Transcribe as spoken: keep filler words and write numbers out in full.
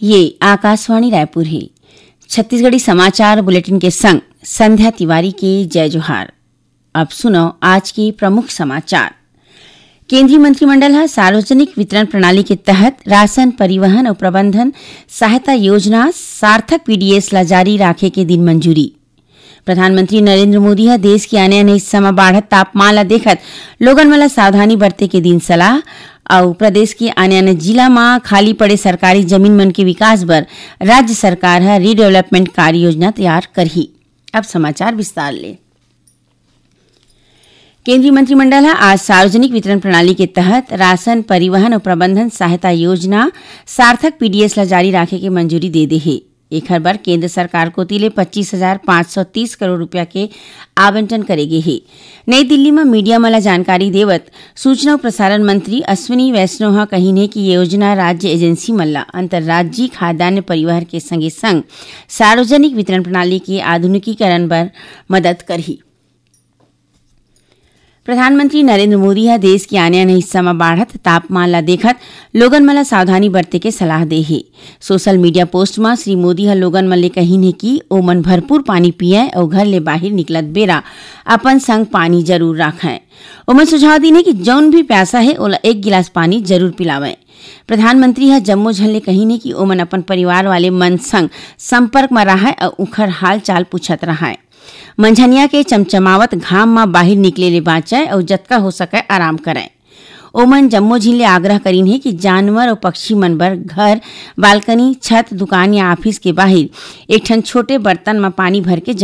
ये आकाशवाणी रायपुर हे। छत्तीसगढ़ी समाचार बुलेटिन के संग संध्या तिवारी के जय जोहार। अब सुनव आज के प्रमुख समाचार। केंद्रीय मंत्रिमंडल ह सार्वजनिक वितरण प्रणाली के तहत राशन परिवहन अउ प्रबंधन सहायता योजना सार्थक पीडीएस ला जारी राखे के दिन मंजूरी। प्रधानमंत्री नरेंद्र मोदी ह देश के आने-आने हिस्सा म बाढ़त तापमान ला देखत लोगन मन ला सावधानी बरते के दिन सलाह। अउ प्रदेश के आने-आने जिला म खाली पड़े सरकारी जमीन मन के विकास बर राज्य सरकार ह रीडेवलपमेंट कार्य योजना तैयार करही। अब समाचार विस्तार ले। केंद्रीय मंत्रिमंडल ह आज सार्वजनिक वितरण प्रणाली के तहत राशन परिवहन अउ प्रबंधन सहायता योजना सार्थक पीडीएस ला जारी राखे के मंजूरी दे दे हे। एखर बर केंद्र सरकार कोति ले पच्चीस हजार पाँच सौ तीस करोड़ रुपया के आवंटन करे गे हे। नई दिल्ली म मीडिया मन ला जानकारी देवत सूचना अउ प्रसारण मंत्री अश्विनी वैष्णव ह कहिन हे कि ये योजना राज्य एजेंसी मन ला अंतर्राज्यीय खाद्यान्न परिवहन के संगे संग सार्वजनिक वितरण प्रणाली के आधुनिकीकरण बर मदद करही। प्रधानमंत्री नरेंद्र मोदी ह देश के आने-आने हिस्सा म बाढ़त तापमान ला देखत लोगन मन ला सावधानी बरते के सलाह दे हे। सोशल मीडिया पोस्ट म श्री मोदी ह लोगन मन ले कहिन हे कि ओमन भरपूर पानी पियंय अउ घर ले बाहिर निकलत बेरा अपन संग पानी जरूर राखंय। ओमन सुझाव दीन हे कि जउन भी प्यासा हे ओला एक गिलास पानी जरूर पिलावंय। प्रधानमंत्री ह जम्मो झन ले कहिन हे कि ओमन अपन परिवार वाले मन संग संपर्क म राहय अउ उंखर हालचाल पूछत राहय। मंझनिया के चमचमावत घाम म बाहिर निकले ले बांचय अउ जतका हो सकय आराम करय। ओमन जम्मो झिन ले आग्रह करिन हे कि जानवर अउ पक्षी मन बर घर, बालकनी, छत, दुकान या ऑफिस के बाहिर एक ठन छोटे बर्तन म पानी भर के